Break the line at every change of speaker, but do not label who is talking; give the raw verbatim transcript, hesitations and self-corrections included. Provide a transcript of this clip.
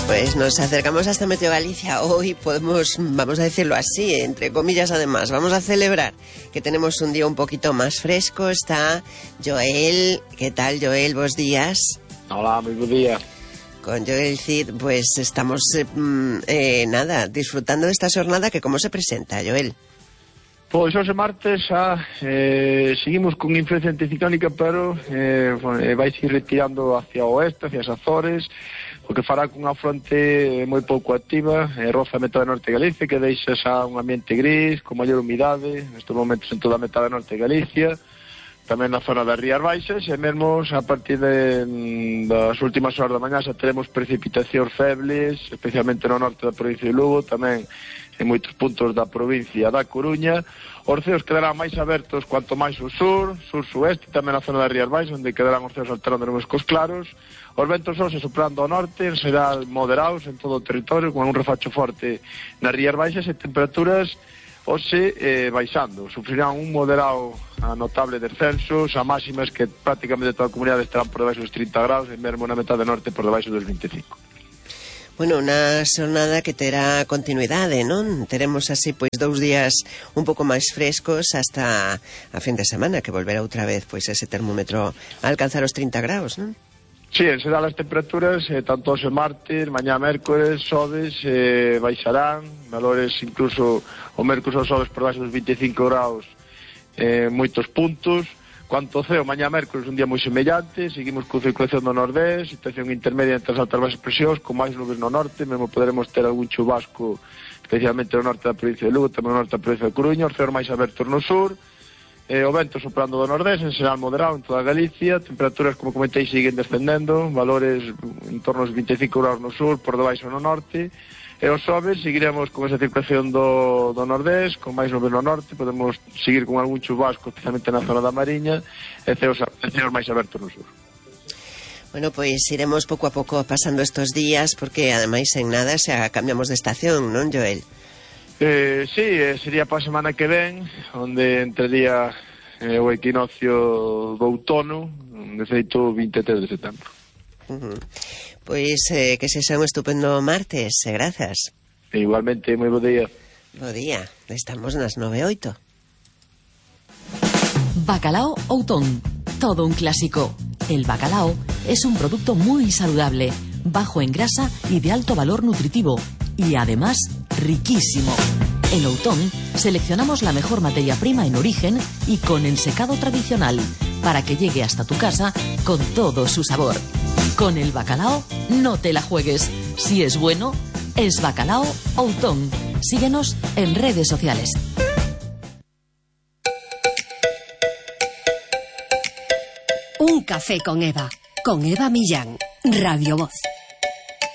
Pues nos acercamos hasta Meteo Galicia. Hoy podemos, vamos a decirlo así, entre comillas además, vamos a celebrar que tenemos un día un poquito más fresco. Está Joel. ¿Qué tal, Joel? Buenos días.
Hola, muy buen día.
Con Joel Cid, pues estamos, eh, eh, nada, disfrutando de esta jornada que ¿cómo se presenta, Joel?
Pois hoxe martes xa eh, seguimos con influencia anticiclónica, pero eh, vai seguir retirando hacia o oeste, hacia as Azores, o que fará cunha fronte moi pouco activa, eh, roza a metade norte de Galicia, que deixa xa un ambiente gris, con maior humidade, nestes momentos en toda a metade norte de Galicia, tamén na zona das Rías Baixas, e mesmo a partir de, das últimas horas da mañá xa teremos precipitacións febles, especialmente no norte da provincia de Lugo, tamén en moitos puntos da provincia da Coruña. Os ceos quedarán máis abertos cuanto máis ao sur, sur-sueste, tamén na zona das Rías Baixas, onde quedarán os ceos alterando nos cos claros. Os ventos hoxe soprando ao norte, en xeral moderados en todo o territorio, con un refacho forte nas Rías Baixas, e temperaturas hoxe eh, baixando. Sufrirán un moderado a notable descenso, xa máximas que prácticamente toda a comunidade estarán por debaixo dos trinta graus, e mesmo na metade norte por debaixo dos vinte e cinco.
Bueno, unha xornada que terá continuidade, non? Teremos así, pois, dous días un pouco máis frescos hasta a fin de semana, que volverá outra vez, pois, ese termómetro a alcanzar os trinta graus, non?
Sí, en xeral as temperaturas, eh, tanto hoxe martes, mañá mércores, xoves, eh, baixarán, valores incluso o mércores ou xoves por baixo dos vinte e cinco graus, eh, moitos puntos. Cuanto ao ceo, mañá mércores un día moi semellante, seguimos con circulación do nordés, situación intermedia entre as altas baixas presións, con máis nubes no norte, mesmo poderemos ter algún chubasco, especialmente no norte da provincia de Lugo, tamén no norte da provincia de Coruña, os ceos máis abertos no sur, eh, o vento soprando do nordés, en xeral moderado en toda Galicia, temperaturas, como comentei, siguen descendendo, valores en torno aos vinte e cinco graus no sur, por debaixo no norte. E os xoves seguiremos con esa circulación do, do nordés, con máis nubes no norte, podemos seguir con algún chubasco, especialmente na zona da Mariña, e ceos, ceos máis abertos no sur.
Bueno, pois iremos pouco a pouco pasando estos días, porque ademais en nada xa cambiamos de estación, non, Joel?
Eh, sí, sería para a semana que ven, onde entraría eh, o equinoccio do outono, de feito vinte e tres de setembro.
Uh-huh. Pois eh, que se xa un estupendo martes, e grazas.
Igualmente, moi bo día.
Bo día, estamos nas nove e oito.
Bacalao Outón, todo un clásico. El bacalao es un producto muy saludable, bajo en grasa y de alto valor nutritivo, y además riquísimo. En Outón seleccionamos la mejor materia prima en origen y con ensecado tradicional, para que llegue hasta tu casa con todo su sabor. Con el bacalao no te la juegues. Si es bueno, es Bacalao Outón. Síguenos en redes sociales.
Un café con Eva. Con Eva Millán. Radio Voz.